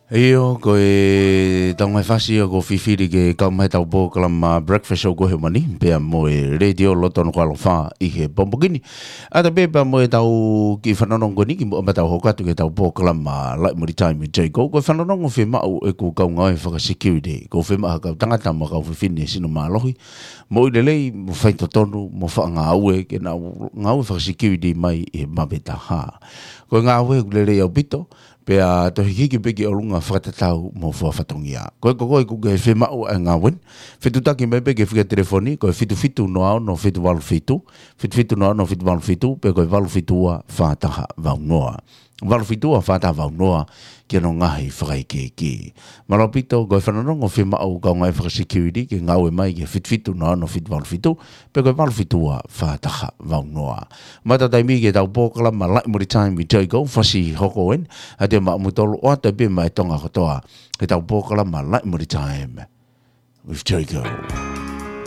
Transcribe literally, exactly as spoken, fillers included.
ʻIo, ko e tau ngaahi fasi ia ko e fifili ke kau mai he tau polokalama Breakfast Show ko ē he ʻaho ni, pea mo e Letiō Loto Nukuʻalofa ʻi he pongipongi ni. ʻA ia pē pea mo e tau kiʻi fanongo ko eni kimuʻa pea tau hoko atu ki he tau polokalama Light Money Time with Jay Gould. Ko e fanongo fiemaʻu ʻeku kau ngāue fakasecurity. Ko e fiemaʻu ha kau tangata mo e kau fefine sino mālohi, moʻui lelei, mo faitotonu, mo faʻa ngāue, ke nau ngāue fakasecurity mai ʻi he Mavetaha. Ko e ngāue ʻoku lelei ʻaupito, pea toe hikihiki pē ki ʻolunga fakatatau mo e fua fatongia. Ko e, ko koe ʻoku ke fiemaʻu ʻa e ngāue ni, fetuʻutaki mai pē ki he fika telefoni, ko e fitu fitu noa ono fitu valu fitu, fitu fitu noa ono fitu valu fitu, pe ko e valu fitu ua fā taha valu noa. Valu fitu ua fā taha valu noa, ki hono ngaahi fakaikiiki. Mālō ʻaupito, ko e fanongo fiemaʻu kau ngāue fakasecurity ke ngāue mai ki he fitu fitu noa ono fitu valu fitu, pe ko e valu fitu ua fā taha valu noa. Mata taimi ki he tau polokalama Light Money Time with Jay Gould, fasi hoko eni, ʻa ia te mou toki ʻoatu pē maʻa e Tonga kotoa, ki he tau polokalama Light Money Time with Jay Gould.